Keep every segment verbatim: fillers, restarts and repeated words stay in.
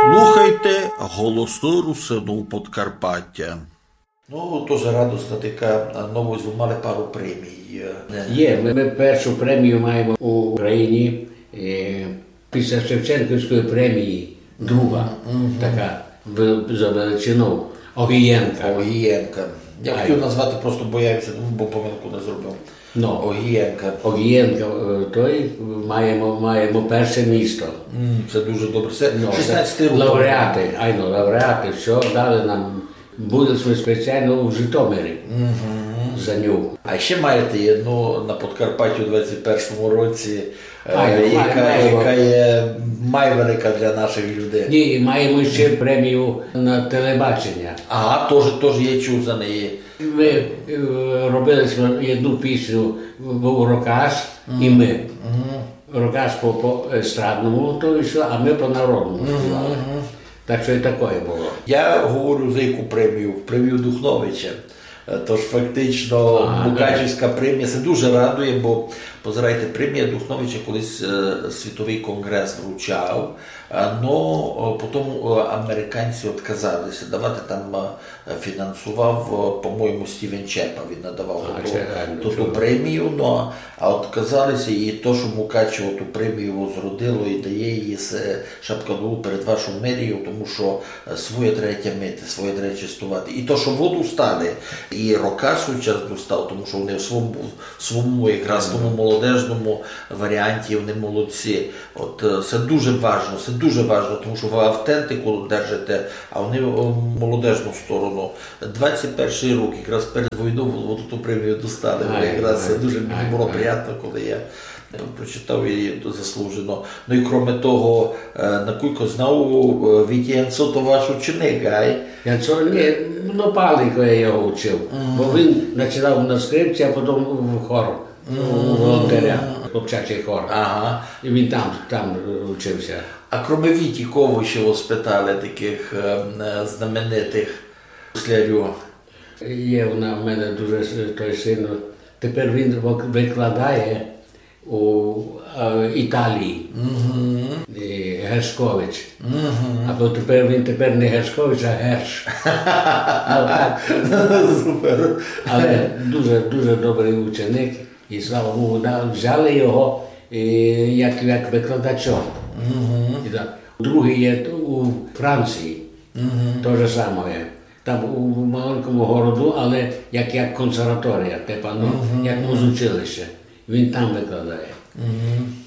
Слухайте «Голосы Русинув Подкарпатя». Ну, тоже радосна така, а, новость, вы мали пару премій, е, не? Є, мы, мы першу премію маєме у Україні, е, після Шевченківської премії, друга, така, в-, за величину, Огієнка. Огієнка. Я хотів назвати, просто боявся, ну, бо помилку не зробив. Ну. Огієнка. Огієнка, е, той, маєме, маєме перше місто. М, це дуже добре. Це шістнадцятий рік. Лауреати, айно, лауреати, всьо, дали нам, были сьме спеціално в Житомирі за ню. А ще маєте єдну на Подкарпаттю у двадцять першому році, е, яка, яка є май велика для наших людей. Ні, і маєме ще премію на телебачення. Ага, тоже, тоже я чув за неї. Мы, е, робили сьме єдну пісню, быв Рокаш і мы. Рокаш по, по естрадному, то і всьо, а мы по народному співали. Так што і такоє было. Я говорю за яку премію? Премію Духновича. Е, тож фактично Мукачівська премія, се дуже радує, бо, позирайте, премія Духновича колись, е, Світовый конґрес вручав, е, но, е, потім, е, американці отказали ся давати, там, е, фінансував, е, по-моєму, Стівен Чепа, він надавав ту, ту премію, но, а отказали ся, і то, што Мукачево ту премію возродило і дає її, се шапка долу перед вашою мерією, тому што, е, своє треба тямити, своє треба честовати. І то, што воду стали, і Рокаш свій час достав, тому што вони в своєму, в своєму якраз тому молодежному варіанті, вони молодці. От, е, се дуже важно, се дуже важно, тому што вы автентику держите, а вони, е, молодежну сторону. Двадцять першый рік, якраз перед войнов, вони ту премію достали. Якраз се дуже мені было приятно, коли я, е, прочитав її, то заслужено. Ну і кроме того, е, накулько знав, е, Вітя Янцо то ваш ученик, ай? Янцо, ні, ну, палико я його вчив. Бо він починав на скрипці, а потім в хор. У волонтеря, хлопчачий хор. Ага. І він там, там, е, вчив ся. А кроме Віті, кого ще вы спитали таких, е, е, знаменитих слярів? Є в на-, в мене дуже с-, той син. Тепер він вик-, викладає у, е, Італії. Е, Гершкович. Або тепер він тепер не Гершкович, а Герш. Ну, так. Супер. Але дуже, дуже добрый ученик. І слава Богу, да, взяли його, е, як, як викладача. І да. Другый є у Франції. То же саме є. Там у маленькому городу, але як, як консерваторія, типа, ну, як музучилище. Він там викладає.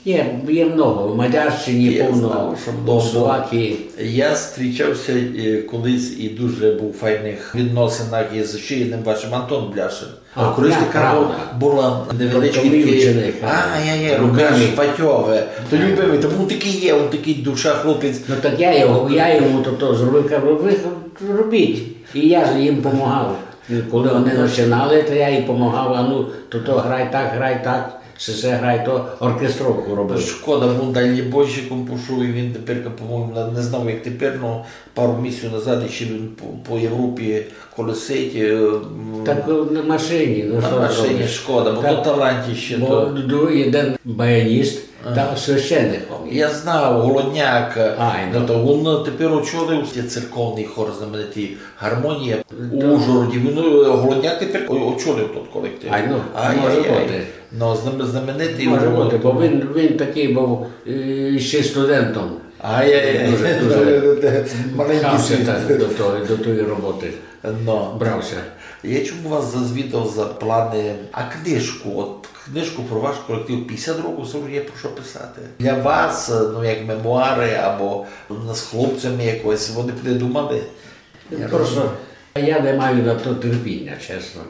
Є, є много. В Мадярщині повно, в Словакії. Я зустрічався, е, колись і дуже був у файних відносинах із ще єдним вашим Антон Бляшин. А, колись така була невеличка... Тобто мій ученик, а, ай-яй-яй, Рукаш Фатьове. То любимый, то був такый є, он такый душа хлопець. Ну так я його, я йому то, то зробив, кажу, вы робіть. І я їм помагав. Коли вони починали, то я їм помагав, а ну, то, то грай так, грай так, се, се грай то, оркестровку робив. Шкода, бо дальнібойщиком пішов, і він тепер, по-моєму, не знав, як тепер, но пару місяців назад іще він по, по Європі колесить, е, м, так, на машині, ну, на машині, шкода, бо то талантище, бо то ду-, єден баяніст, та священником є. Я знав, Голодняк, ну, то він тепер очолив церковный хор знаменитый «Гармонія» у Ужгороді. Він, е, Голодняк тепер о-, очолив тот колектив. Ай, ну, може бути. Ну, знаме-, знаменитый. Може бути, бо він, він такый быв, е, ще студентом. Ай-яй-яй. Дуже, дуже маленькый світ. Пхав ся так до тої, до тої роботи. Но. Брав ся. Я чому вас зазвідав за планы, а книжку, от книжку про ваш колектив, пятдесят років, се вже є про што писати. Для вас, ну, як мемуары, або з хлопцями якось, вы не придумали? Просто я не маю на то терпіня, чесно.